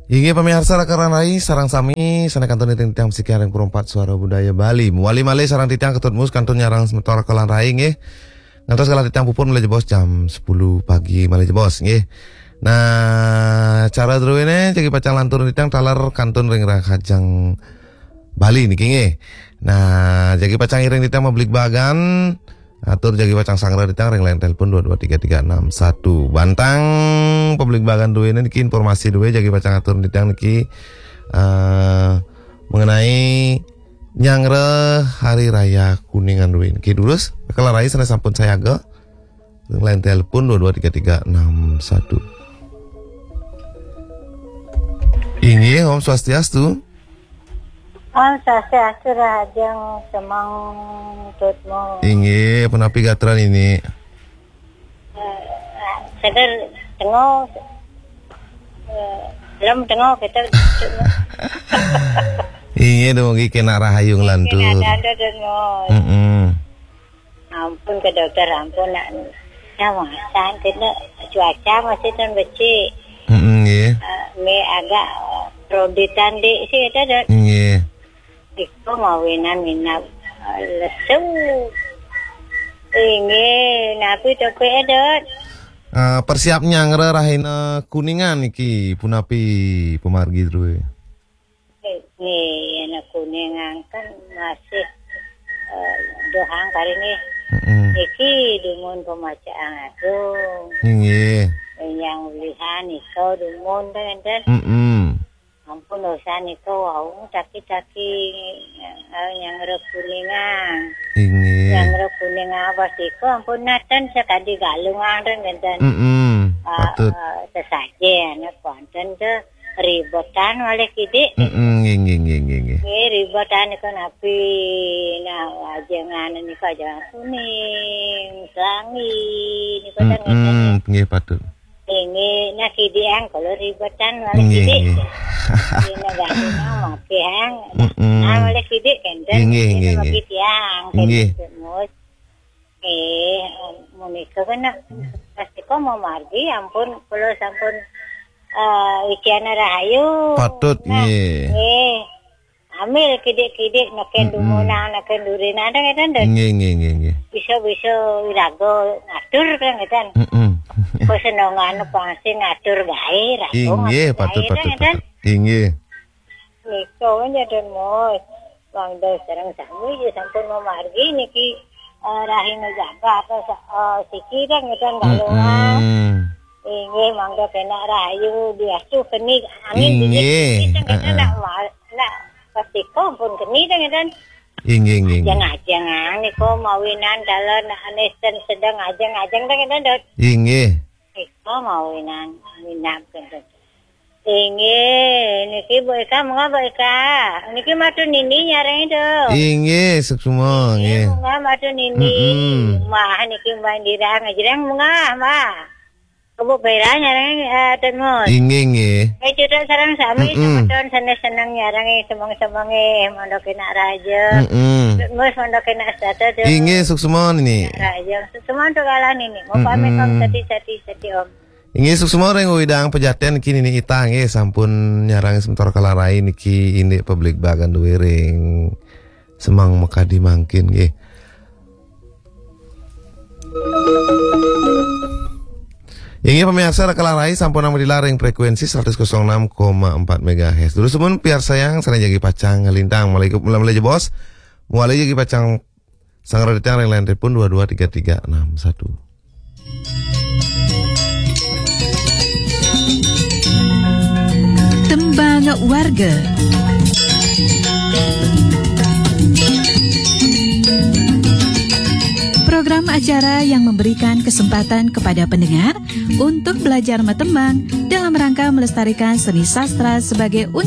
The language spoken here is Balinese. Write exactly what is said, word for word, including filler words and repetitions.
Inggih pamiarsa Raka lan Rai, sareng sami sané kantun titiang sikian ring Pro empat Suara Budaya Bali. Mawali malih sareng titiang Ketut Mus kantun nyarengin semeton Raka lan Rai nggih. Ngantos galah titiang puput malih jebos jam sepuluh pagi malih jebos nggih. Nah, cara druéné jagi pacang lantur titiang taler kantun ring rahajeng Bali niki nggih. Nah, jagi pacang iring titiang mabligbagan, atur jagi pacang sangra titiang ring line telepon dua dua tiga tiga enam satu. Bantang pabligbagan druéné niki informasi drué jagi pacang atur titiang niki eh, mengenai nyanggra Hari Raya Kuningan drué niki. Durus, Raka lan Rai sané sampun sayaga ring line telepon dua dua tiga tiga enam satu. Inggih, Om Swastiastu. Om Swastiastu, rahajeng semeng Tut Mus. Inggih, punapi gatra niki? Eh, sadar tengok, eh, belum tengok kita. Inggih, dumugi kénak rahayu nglantur. Ada, ada, ada, no. Mm-mm. Ampun ke dokter, ampun nak. Nah, masa kena cuaca masih tan becik. Mm-mm, nggih. Eh, me agak, eh, proditan dik sih, ada, ada. Nggih. Iko mawinan minab, eh, lesu. Inggih, napi to, Dot? Eh, persiap nyanggra rahina Kuningan niki punapi pamargi drué? Nggih, anak Kuningan kan masih, eh, dohang kali nih. Mm-mm. Niki dumun pemacaan agung. Nggih. Yang ulihan iko dumun kan enten. Mm-mm. Ampun dosa nika wau taki-taki, eh, nyanggra Kuningan. Inggih. Nyanggra Kuningan pas nika ampun naten sakadi Galungan ten ngenten. Mm-mm, ah, patut. Eh, sesajen, anak kuanten ke ribetan malih kidik. Mm-mm, nggih, nggih, nggih, nggih, nggih. Nggih, ribetan nika napi, nah, ajengan nika ajengan Kuning, Selangi, nika ten ngenten. Mm-mm, nggih, patut. Inggih, nah, kidik ang kalau ribetan malih kidik. Nggih, nggih. Dina gandungan maké ang. Mm-mm. Ah, malih kidik kenten. Inggih, inggih, inggih. Bagi tiang, nggih. Kenten, Mus. Eh, menika kena. Pas nika mamargi, ampun, kula sampun, eh, ikiana rahayu. Patut, nah, nggih. Nggih. Ambil kidik-kidik, naken dumunang, naken durinan, ada ngeten, Dot? Nggih, nggih, nggih, nggih. Bisa-bisa iraga ngatur, kan, ngeten? Mm-mm. Kesenengan pang sing ngatur gaé, raga ngatur gaé, patut, kan, patut, ngeten? Inggih. Nika, kan, Dot, Mus. Wang Dot sareng sami, ya, sampun mamargi niki, eh, rahina jagat, apa, sa-, eh, siki, kan, ngeten, Galungan. Mm-mm. Inggih, mangda kena rahayu, diastu keni, angin dingin, inggih, dingin, kan, ngeten, heeh. Nak, nak, Pas nika pun keni dah ngeten. Inggih, inggih, inggih. Ajeng-ajeng, ah, nika mawinan dalan anes ten sedeng ajeng-ajeng dah ngeten, Dot. Inggih. Nika mawinan, minab ngeten. Inggih, niki Bu Eka, monggo Bu Eka. Niki matur nini nyareng itu. Inggih, suksma, inggih, nggih. Monggo matur nini. Mm-mm. Mah niki Mbak Indira ngejreng monggo, Mbak. Kebo Pera nyareng, eh, Tut Mus. Inggih, inggih. Eh, cedhak sareng sami, mm-mm, semeton seneng-seneng nyareng, eh, semeng-semeng, eh, mangda kena rahayu. Mm-mm. Tut Mus mangda kena setata, Tut. Inggih, suksma nini. Rahayu. Suksma untuk kala nini. Mau pamit, Om, mm-mm, sati, sati, sati, Om. Inggih, suksma ring Widang Pejaten niki nini Ita, nggih, sampun nyareng semeton kala rai niki indik pabligbagan drué ring semeng makadi mangkin, nggih. Inggih pamiarsa, Raka lan Rai sampun nampi tilar ring frekuensi seratus kosong enam koma empat megahertz. Durus pun piarsayang sané jagi pacang nglintang malih, malih jebos. Malih jagi pacang sangra titiang ring line telepon dua dua tiga tiga enam satu. Tembang Warga. Program acara yang memberikan kesempatan kepada pendengar untuk belajar matembang dalam rangka melestarikan seni sastra sebagai